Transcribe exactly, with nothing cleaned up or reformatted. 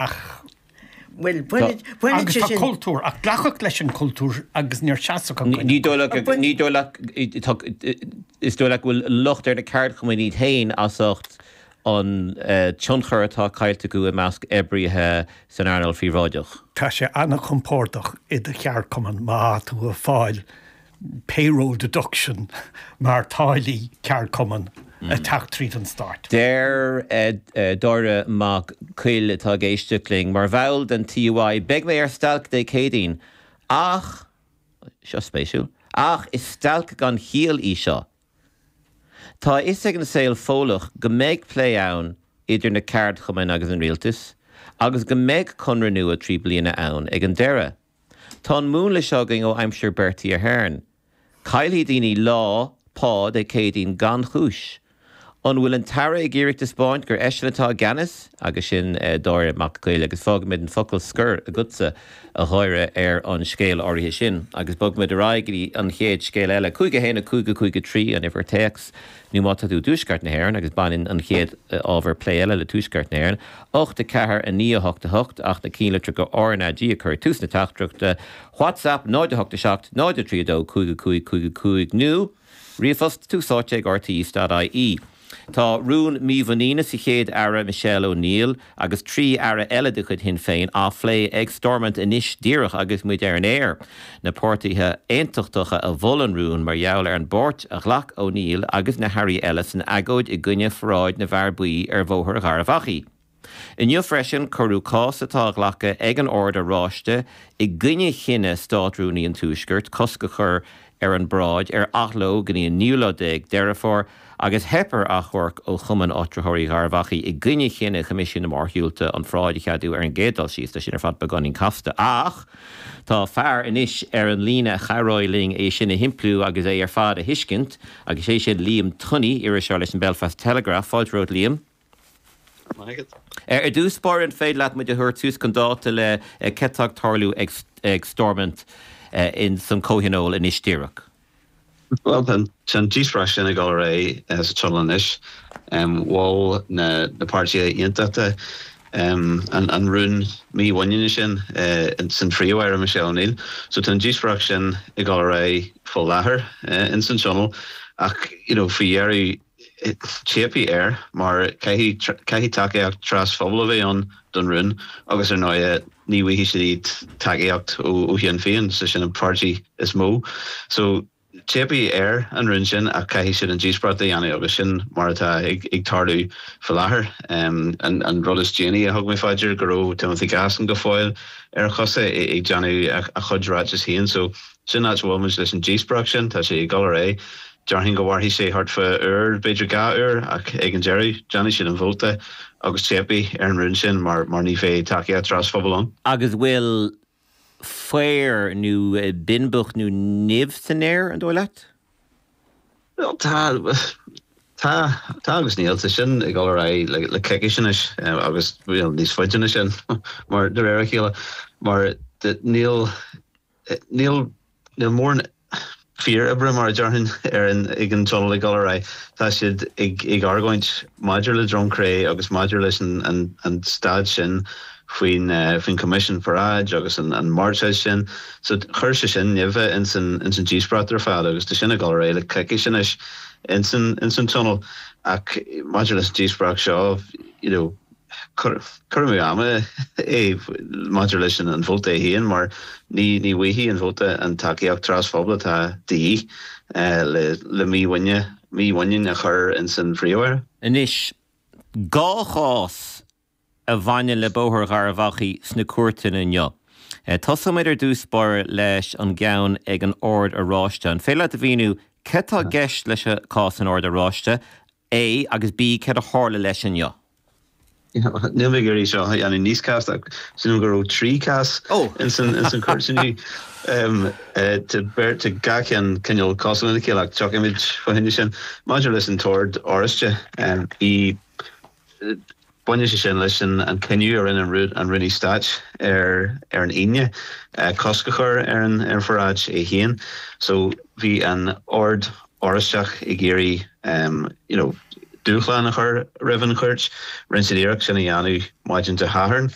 Ach Well, baineann agus sé tá sin cultúr ach glacadh leis an cultúr agus níor seasadh an Ní dóigh ní dóigh is dóigh leat go bhfuil locht ar na ceardchumainn iad féin as ucht an eh, tionchar atá caillte acu i measc oibrithe san earnáil phríobháideach. Tá sé an-chompordach i do cheardchumann má tú ag fáil payroll deduction mar táillí ceardchumann ag teacht tríd an stát. Deir eh, eh, Dáire Mac Cuill atá ag éisteacht linn mar bhall den TUI beidh mé ar stailc Dé Céadaoin ach seo spéisiúil ach is stailc gan chiall í seo. Tá a fhios ag an saol Fódlach go mbeidh plé ann idir na ceardchumainn agus an rialtas, agus go mbeidh conradh nua trí bliana ann ag an deireadh. Tá an múnla seo againn ó aimsir Bertie Ahern. Caillfidh daoine lá pá Dé Céadaoin gan chúis. An bhfuil an tAire ag iarraidh taispeáint gur eisean atá i gceannas agus sin eh, Dáire Mac Cuill agus fágfaimid an focal scoir agatsa a Dháire ar an scéal áirithe sin, agus bogfaimid ar aghaidh go dtí an chéad scéal eile cúig a haon a cúig a cúig a trí an uimhir téacs nó má tá tú i dtuaisceart na hÉireann agus baineann an chéad eh, ábhar plé eile le tuaisceart na hÉireann, ocht a ceathair a naoi a hocht a hocht ach na ceannlitreacha RnaG a chur tús na teachtaireachta, WhatsApp náid a hocht a seacht náid a trí dó cúig a cúig cúig a cúig nó ríomhphost tús áite ag RTÉ.ie. Tá rún mímhuiníne sa chéad aire Michelle O'Neill agus trí aire eile de chuid Shinn Féin á phlé ag Stormont anois díreach agus muid ar an aer. Na páirtithe aontachtacha a mhol an rún mar gheall ar an bpáirt a ghlac O'Neill agus na hairí eile san agóid i gcoinne pharáid na bhfear buí ar Bhóthar Gharbh Achaidh. Inniu freisin cuireadh cás atá á ghlacadh ag an Ord Oráiste i gcoinne chinneadh Státrúnaí an Tuaiscirt cosc a chur ar an bparáid ar athló go dtí an naoú lá déag Deireadh Fómhair agus theip ar achomharc ó Chumann Áitritheoirí Gharbh Achaidh i gcoinne chinneadh Choimisiún na Mórshiúlta an pharáid a cheadú ar an gcéad dul síos tá sin ar fad beagáinín casta. Ach tá fear anois ar an líne a chabhróidh linn é sin a shimpliú agus é ar fad a thuiscint agus sé sin Liam Tunney iriseoir leis an Belfast Telegraph fáilte romhat Liam. Ar ar dtús báire an féidir leat muid a thabhairt suas chun dáta le cad tá ag tarlú ag, ag Stormont uh, in san comhthionól anois díreach. Well an díospóireacht sin ag dul ar aghaidh sa tionól anois mhol na na páirtithe aontachtacha um, an, an rún mímhuiníne sin uh, san Phríomh-Aire Michelle O'Neill. So tá an díospóireacht sin ag dul ar aghaidh faoi láthair uh, in san tionól ach you know, faoi dheireadh teipfidh air mar caithfidh tacaíocht trasphobail a bheith ann don rún agus ar ndóigh ní bhfaighidh siad tacaíocht ó Shinn Féin sa sin an páirtí is mó. So teipfidh ar an rún sin ach caithfidh siad an díospóireacht a dhéanamh agus sin mar atá ag, ag tarlú faoi láthair. Um, an, an rud is déanaí a thug mé faoi deara go raibh Timothy Gasson go fóill ar a chosa ag déanamh a chuid ráiteas féin, so sin áit a bhfuil muid leis an díospóireacht sin tá sé ag dul ar aghaidh. Déarfainn go mhairfidh sé thart fá uair b'fhéidir dhá uair ach ag an deireadh déanfaidh siad an vóta agus teipfidh ar an rún sin mar mar ní bheidh tacaíocht trasphobail ann. Agus bhfuil faobhar nó binbeach nó nimh san aer an dóigh leat? Tá tá tá agus níl tá sin ag dul ar aghaidh le le coicís anois agus níos faide ná sin mar de réir a chéile mar níl níl níl mórán fíoroibre mar a déarfainn ar an ag an tionól ag dul ar aghaidh tá siad ag ag argóint maidir le Droim Cré agus maidir leis an an, an staid sin faoin uh, faoin Commission Paráid agus an, an márta sin so chuir sé sin nimh in san in san díospóireacht ar fad agus tá sin ag dul ar aghaidh le coicís anois in san in san tionól ach maidir leis díospóireacht seo you know, cur amú ama é maidir leis an vóta féin mar ní ní bhfaighidh an vóta an tacaíocht trasphobail atá de dhíth eh, le le mímhuinín mímhuinín a chur in san Phríomh-Aire. Anois dhá chás a bhaineann le Bóthar Gharbh Achaidh sna cúirteanna inniu. E, Tosóimid ar dtús báire leis an gceann ag an Ord Oráiste. An féidir leat a mhíniú cad tá i gceist leis an cás an Ord Oráiste, A agus B cad a tharla leis inniu. Níl mé ag seo an níos casta sin go raibh trí chás in san in san chúirt inniu beirt gach ceann cineál cosúil lena chéile tiocfaimid fá choinne sin maidir leis an tOrd Oráiste bhí baineann sé sin leis an an cinneadh a rinne an an Rúnaí Stáit ar ar an Aoine cosc a chur ar an ar pharáid é féin so bhí an Ord Oráisteach ag iarraidh um, you know, dúshlán a chur roimh an chúirt rinne siad iarracht sin a dhéanamh maidin Dé Sathairn